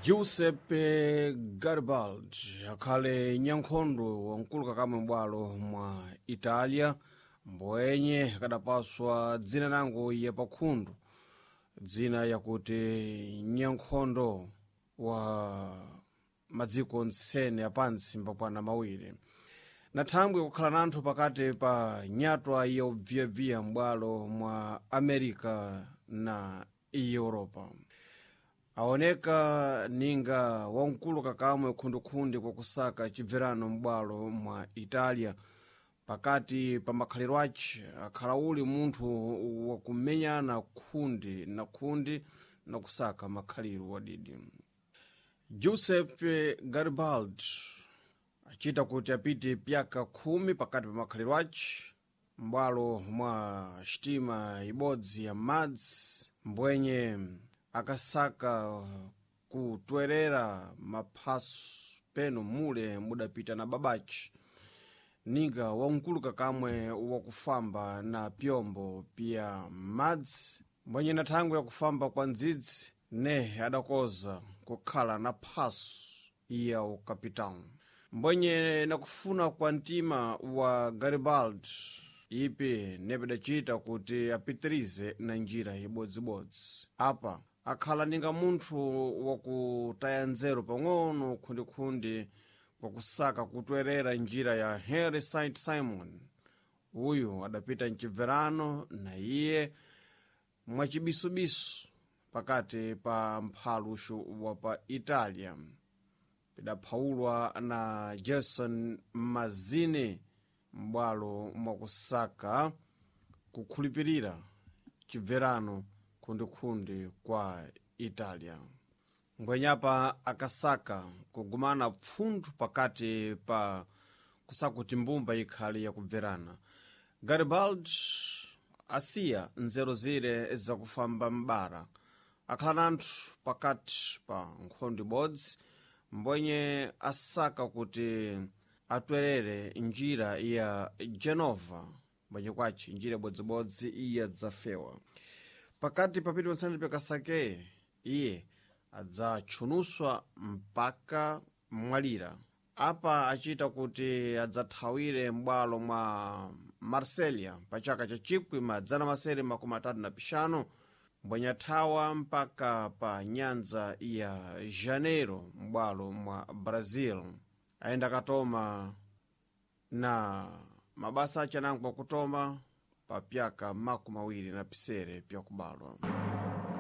Giuseppe Garibaldi akhale nyankhondo wamkulu kakamwe m'bwalo mwa Italia, mbwenye akadapaswa dzina nango ya pakhundu, dzina yakuti nyankhondo wa madziko ntsene apansi mbakwana mawiri. Na thangwi kukhala nanthu pakati pa nyatwa yobviyabviya m'bwalo mwa America na Europa. Aoneka ninga wamkulu kakamwe khundukhundi kwakusaka chibverano m'bwalo mwa Italia. Pakati pa makhaliro ace akhala uli munthu wakumenyana khundi na khundi na kusaka makhaliro wadidi. Giuseppe Garibaldi achita kuti apite pyaka 10 pakati pa makhaliro ace m'bwalo mwa xitima ibodzi ya madzi, mbwenye akasaka kutwerera maphaso peno mule mudapita na babace, ninga wamkulu kakamwe wakufamba na pyombo pya madzi, mbwenye na thangwi yakufamba kwa ndzidzi ne adakoza kukhala na phaso ya ukapitão. Mbwenye nakufuna kwa mtima wa Garibaldi ipi nepedacita kuti apitirize na njira ibodzibodzi. Apa akhala ninga munthu wakutaya nzeru pang'ono khundikhundi kwakusaka kutwerera njira ya Henry St Simon. Uyu adapita mchibverano na iye mwachibisubisu pakati pa mphaluxu wa pa Italia, pidaphawulwa na Jason Mazzini m'bwalo mwakusaka kukhulupirira chibverano khundikhundi kwa Italia. Ngwenyapa akasaka kugumana pfunthu pakati pa kusakuti mbumba ikhale yakubverana. Garibaldi asiya nzeru zire zakufamba m'bara, akhala nanthu pakati pa nkhondo ibodzi, mbwenye asaka kuti atwerere njira ya Genova, mbwenye kwace njira ibodzibodzi iyadzafewa. Pakati papiti patsani pakasake iye adzatchunuswa mpaka mwalira. Apa achita kuti adzathawire m'bwalo mwa Marselia pa chaka cha 1935, mbwenye athawa mpaka pa nyanza ya Janeiro m'bwalo mwa Brazil. Ayenda katoma na mabasa ace anango akutoma pa pyaka 27 pyakubalwa.